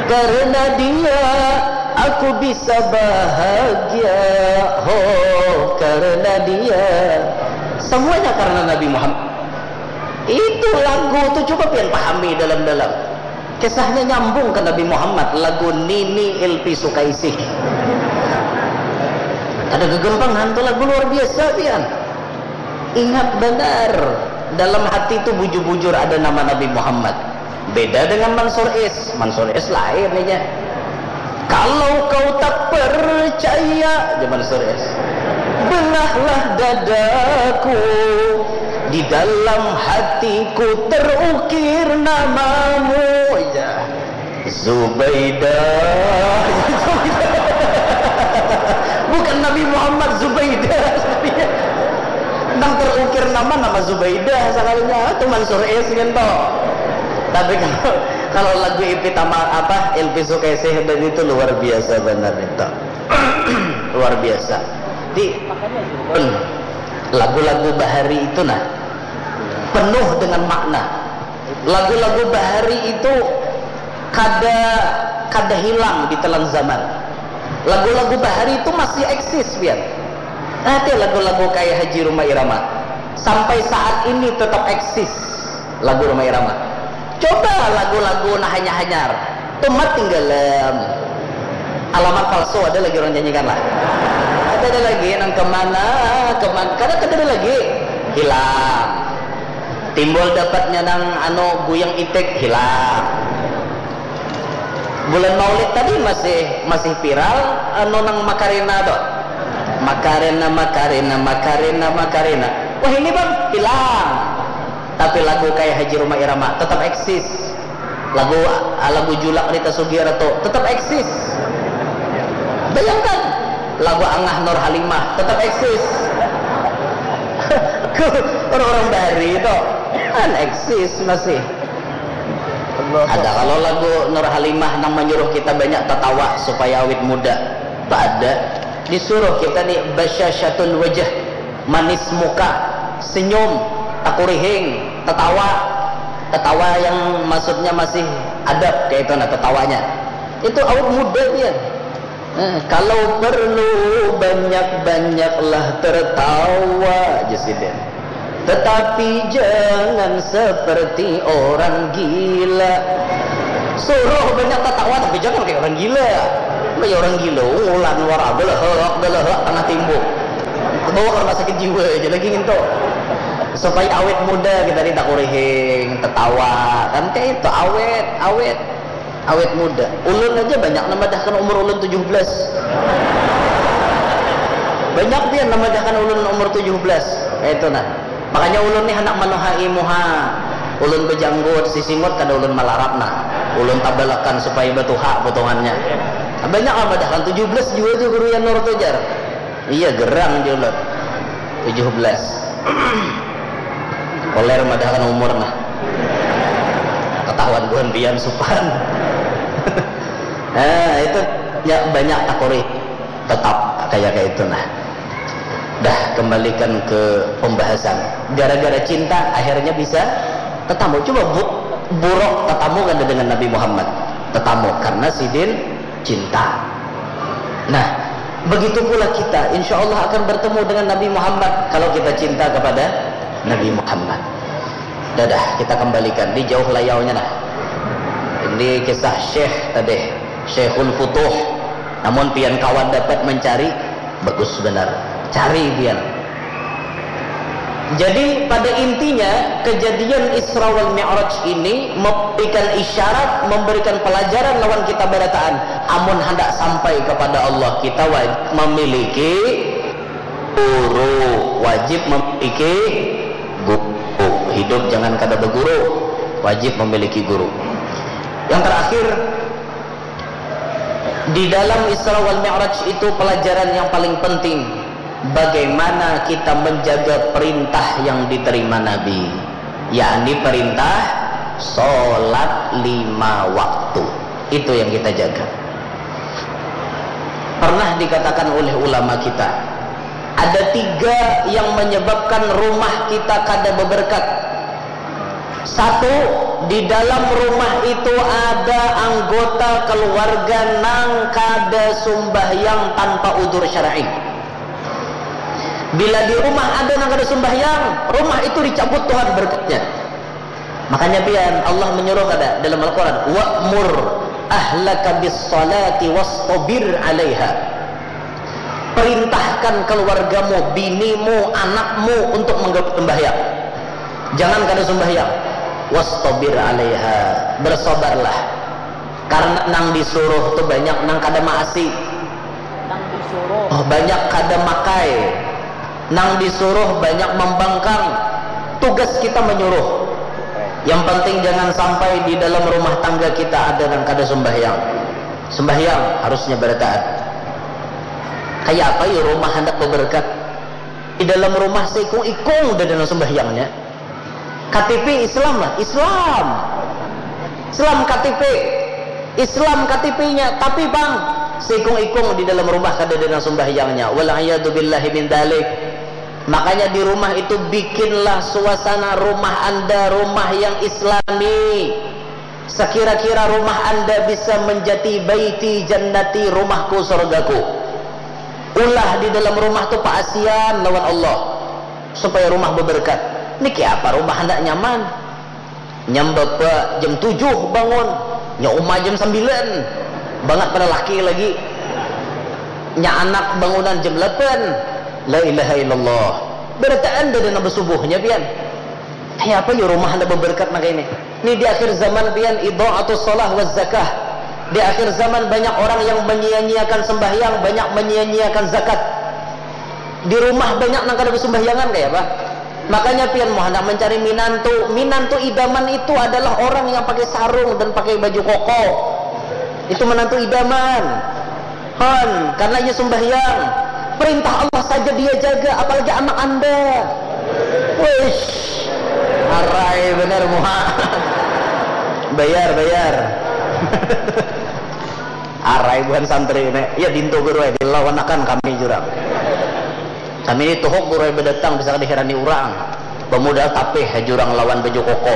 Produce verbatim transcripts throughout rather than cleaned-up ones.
Karena dia aku bisa bahagia. Ho, karena dia. Semuanya karena Nabi Muhammad. Itu lagu tu coba pian pahami dalam-dalam. Kisahnya nyambung ke Nabi Muhammad, lagu Nini Ilpi Sukaisih. Ada gegempangan tu lagu luar biasa pian. Ingat benar, dalam hati tu bujur-bujur ada nama Nabi Muhammad. Beda dengan Mansur Is. Mansur Is lain aja. Kalau kau tak percaya, zaman Mansur Is. Belahlah dadaku, di dalam hatiku terukir namamu. Ya. Zubaidah. Bukan Nabi Muhammad, Zubaidah. Nang terukir nama, nama Zubaidah sekalinya. Itu Mansur Is gitu. Tapi kalau, kalau lagu Ipi Tama apa, Ilpi Sukaisih dan itu luar biasa benar itu. Luar biasa. Di lagu-lagu bahari itu nah penuh dengan makna. Lagu-lagu bahari itu kada, kada hilang di telan zaman. Lagu-lagu bahari itu masih eksis pian. Nanti lagu-lagu kayak Haji Rhoma Irama sampai saat ini tetap eksis lagu Rhoma Irama. Coba lagu-lagu nah hanyar-hanyar. Tumat tinggalam. Alamat palsu ada lagi orang nyanyikan lah. Ada, ada lagi nang kemana, kemana, kada, kada ada lagi. Hilang. Timbul dapatnya nang anu guyang itik, hilang. Bulan Maulid tadi masih, masih viral anu nang Makarena tu. Makarena, Makarena, Makarena, Makarena. Wah, ini bang, hilang. Tapi lagu kayak Haji Rhoma Irama tetap eksis. Lagu, lagu Julak Rita Sugiarto tetap eksis. Bayangkan, lagu Angah Nur Halimah tetap eksis. Orang-orang bahari itu kan eksis masih. Ada kalau lagu Nur Halimah nang menyuruh kita banyak tertawa supaya awet muda. Ada disuruh kita nih basyasyatul wajah, manis muka, senyum, takurihing, tetawa, tetawa yang maksudnya masih adab kayak itu nah tetawanya. Itu awet muda dia. Eh, kalau perlu banyak-banyaklah tertawa, jar sidin. Tetapi jangan seperti orang gila. Suruh banyak tertawa tapi jangan kayak orang gila. Kayak orang gila, ngulan wara, belehek, belehek, tengah timbuk. Bawa ke rumah sakit jiwa aja lagi gitu. Supaya awet muda kita ni takurihing, tertawa. Kan kayak itu, awet, awet. Awet muda. Ulun aja banyak namadahkan umur ulun tujuh belas. Banyak pian namadahkan ulun umur tujuh belas. Kayak itu nah. Makanya ulun nih handak manuhai muha. Ulun bejanggut, sisingut kada ulun malarap nah. Ulun tabalakan supaya batuha potongannya. Banyak namadahkan tujuh belas jua tu guru Yanur tu jar. Iya, gerang jar ulun. Tujuh belas. Koler madahkan umur nah. Ketahuan buhan pian supan. Nah, itu ya banyak takuri tetap kayak kayak itu nah. Dah, kembalikan ke pembahasan. Gara-gara cinta akhirnya bisa tetamu. Coba bu, buruk tetamu kan dengan Nabi Muhammad. Tetamu karena sidin cinta. Nah, begitu pula kita, insya Allah akan bertemu dengan Nabi Muhammad kalau kita cinta kepada Nabi Muhammad. Dadah, kita kembalikan di jauh layaunya nah. Ini kisah Syekh tadi, Syekhul Futuh. Namun pian kawan dapat mencari, bagus benar. Cari pian. Jadi pada intinya kejadian Isra wal Mi'raj ini memberikan isyarat, memberikan pelajaran lawan kita barataan. Amun hendak sampai kepada Allah kita wajib memiliki guru, wajib memiliki guru. Hidup jangan kada berguru, wajib memiliki guru. Yang terakhir, di dalam Isra wal Mi'raj itu pelajaran yang paling penting, bagaimana kita menjaga perintah yang diterima Nabi, yakni perintah sholat lima waktu. Itu yang kita jaga. Pernah dikatakan oleh ulama kita, ada tiga yang menyebabkan rumah kita kada beberkat. Satu, di dalam rumah itu ada anggota keluarga nang kada sumbahyang tanpa udur syar'i. Bila di rumah ada nang kada sumbahyang, rumah itu dicabut Tuhan berkatnya. Makanya pian, Allah menyuruh kada dalam Al-Quran, "Wa'mur ahlaka bis salati wastabir alaiha." Perintahkan keluargamu, binimu, anakmu untuk menggawi sembahyang. Jangan kada sembahyang. Wastabir alaiha. Bersabarlah. Karena nang disuruh tu banyak nang kada maasi. Nang disuruh. Oh, banyak kada makai. Nang disuruh banyak membangkang. Tugas kita menyuruh. Yang penting jangan sampai di dalam rumah tangga kita ada nang kada sembahyang. Sembahyang harusnya berataan. Kayak apa ya rumah hendak beberkat? Di dalam rumah seikung-ikung udah ada sembahyangnya. K T P Islam lah, Islam. Islam K T P. Islam K T P-nya, tapi pang seikung-ikung di dalam rumah kada ada sembahyangnya. Wal iyadu billahi min dalik. Makanya di rumah itu bikinlah suasana rumah anda rumah yang islami. Sekira-kira rumah anda bisa menjadi baiti jannati, rumahku sorgaku. Ulah di dalam rumah tu paasian lawan Allah supaya rumah beberkat. Niki apa rumah handak nyaman? Nyam bapa jam tujuh bangun, nya uma jam sembilan. Bangat pada laki lagi. Nya anak bangunan jam delapan. La ilaha illallah. Berataan dah dana besubuhnya pian. Kaya apa ya rumah anda beberkat nang ini? Ini di akhir zaman pian idha'atus shalah wa zakah. Di akhir zaman banyak orang yang menyia-nyiakan sembahyang, banyak menyia-nyiakan zakat. Di rumah banyak nang kada besumbahyangan kaya apa? Makanya pian mau hendak mencari minantu, minantu idaman itu adalah orang yang pakai sarung dan pakai baju koko. Itu menantu idaman. Hon, karena ia sembahyang. Perintah Allah saja dia jaga, apalagi anak anda. Wish, arai bener muha. Bayar, bayar. Arai buhan santri ini. Ya dintu guru ya, dilawanakan kami jurang. Kami ini tuhuk guru ya berdatang bisa diherani orang. Pemodal tapih ya jurang lawan baju koko.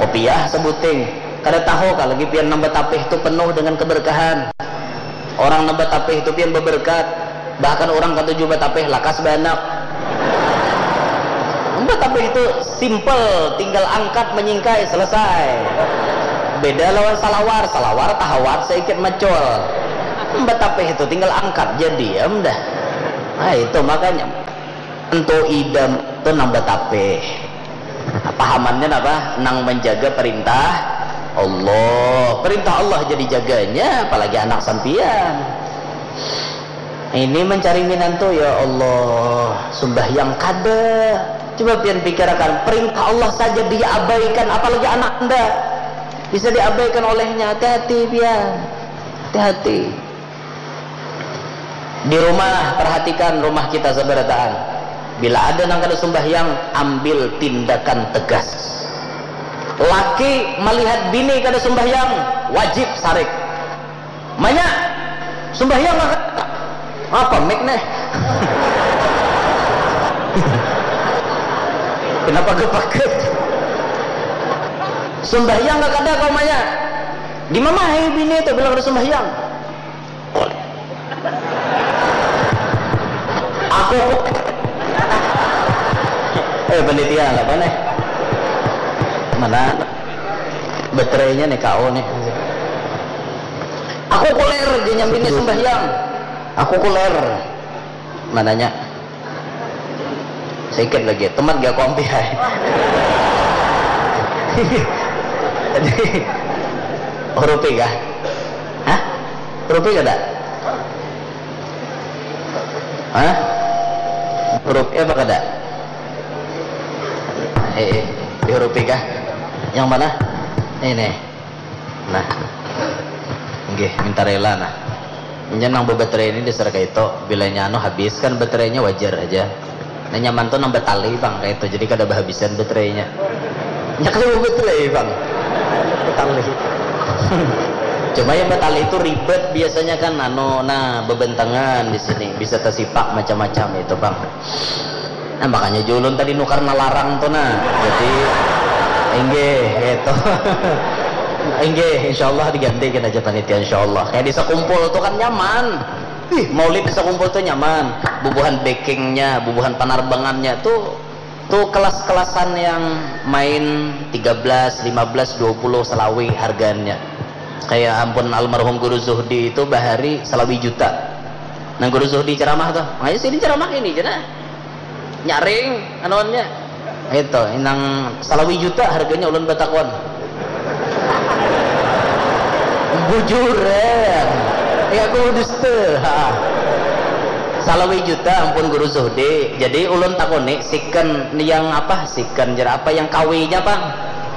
Kopiah sebuting. Kada tahu kah lagi pian nang batapih tu penuh dengan keberkahan. Orang nang batapih tu pian beberkat. Bahkan orang katuju batapih lakas baanak. Batapih tu simple, tinggal angkat menyingkai selesai. Beda lawan salawar, salawar tahawat saikit macul. Batapih tu tinggal angkat jadi am dah. Nah itu makanya. Entu idam tu nang batapih. Pahamannya apa? Nang menjaga perintah Allah. Perintah Allah jadi jaganya, apalagi anak sampian. Ini mencari minantu, ya Allah, sembahyang kada. Coba pian pikirakan, perintah Allah saja dia abaikan, apalagi anak anda bisa diabaikan olehnya. Hati-hati pian, hati-hati. Di rumah, perhatikan rumah kita sabarataan. Bila ada nang kada sumbahyang, ambil tindakan tegas. Laki melihat bini kada sumbahyang, wajib sarik. Manya, sumbahyang nggak kada? Apa mik nih? Kenapa gepaket? Sumbahyang nggak kada kau manya? Di mana hai bini itu bilang ada sumbahyang? Aku eh panitia apa nih? Mana baterainya nih kau nih? Aku kuler di nyambinya sembahyang. Aku kuler. Mananya? Sedikit lagi. Teman gak kompi hai. Jadi hurupi kah? Hah? Hurupi kada? Hah? Hurupi apa kada? Eh, eh, dihurupi kah? Yang mana? Ini. Nah. Nggih, minta rela nah. Nya nang bebaterai ini dasar kaito, bilanya anu habis kan baterainya wajar aja. Nah nyaman tuh nang batali bang kaito, jadi kada bahabisan baterainya. Nya kada babaterai bang. Batali. Cuma yang batali itu ribet biasanya kan anu nah bebentengan di sini bisa tersipak macam-macam itu bang. Nah makanya julun tadi nukar nalarang tuh nah. Jadi Inggih, gitu. Inggih, insyaallah digantikan aja panitia, insyaallah. Kayak di sekumpul tuh kan nyaman. Ih, maulid di sekumpul tuh nyaman. Bubuhan backingnya, bubuhan panarbangannya tuh, tuh kelas-kelasan yang main tiga belas, lima belas, dua puluh selawi harganya. Kayak ampun almarhum Guru Zuhdi itu bahari selawi juta. Nah, Guru Zuhdi ceramah tuh, makanya sini ceramah ini, cina. Nyaring, anuannya. Itu, inang salawi juta harganya ulun batakon. Bujur, eh. Ya, aku dusta. Ha. Salawi juta, ampun Guru Zuhdi. Jadi, ulun takoni, second yang apa? Second, jar apa yang kawinya, Bang?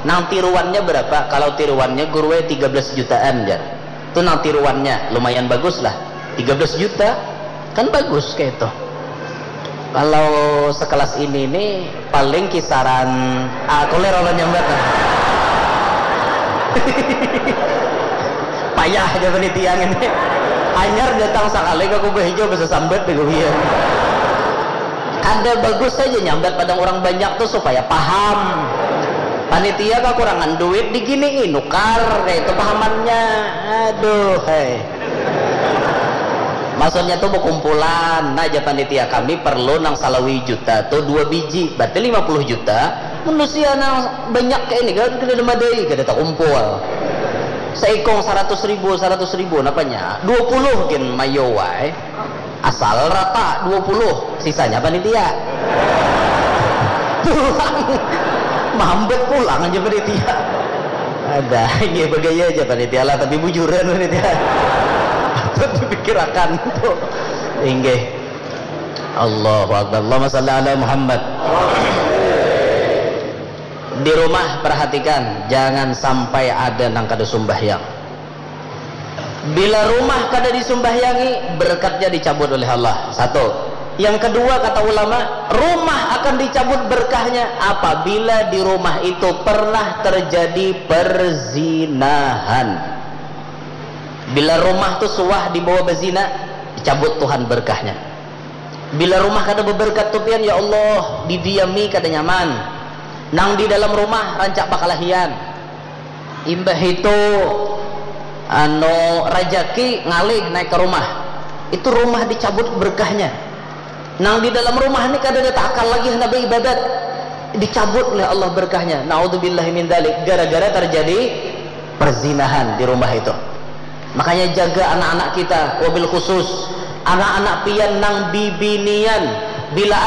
Nang tiruannya berapa? Kalau tiruannya, guru, eh, tiga belas jutaan, jar. Tu nang tiruannya, lumayan bagus lah. Tiga belas juta, kan bagus kayak itu. Kalau sekelas ini nih, paling kisaran, ah, koler orang nyambat lah. Payah aja panitia ini. Anyar datang sekali ke Kuba Hijau bisa sambat deh, iya. Kada bagus saja nyambat pada orang banyak tuh supaya paham. Panitia kekurangan duit, digini nukar, kayak itu pahamannya. Aduh, hei. Maksudnya tuh berkumpulan. Nah, aja panitia, kami perlu nang salawi juta tuh dua biji, berarti lima puluh juta. Manusia nang banyak kayak ini kan, kada ada madai, kada takumpul. Seikong seratus ribu, seratus ribu, napanya? Dua puluh gin mayo wae. Asal rata dua puluh, sisanya panitia. Pulang. Mambet pulang aja panitia. Ada, iya, bergaya aja panitia lah, tapi bujuran panitia. Patut dipikirakan tuh. Inggih. Allahu Akbar. Allahumma salli ala Muhammad. Di rumah perhatikan, jangan sampai ada nang kada sumbahyang. Bila rumah kada disumbahyangi, berkatnya dicabut oleh Allah. Satu. Yang kedua, kata ulama, rumah akan dicabut berkahnya apabila di rumah itu pernah terjadi perzinahan. Bila rumah tu suah dibawa bezina, dicabut Tuhan berkahnya. Bila rumah kada beberkat tu pian, ya Allah, didiami kada nyaman. Nang di dalam rumah rancak bakalahian. Imbah itu, anu, rajaki ngalih naik ke rumah. Itu rumah dicabut berkahnya. Nang di dalam rumah ni kada ada takal lagi hendak beribadat. Dicabut oleh Allah berkahnya. Naudzubillahi min dzalik. Gara-gara terjadi perzinahan di rumah itu. Makanya jaga anak-anak kita, wabil khusus anak-anak pian nang bibinian. Bila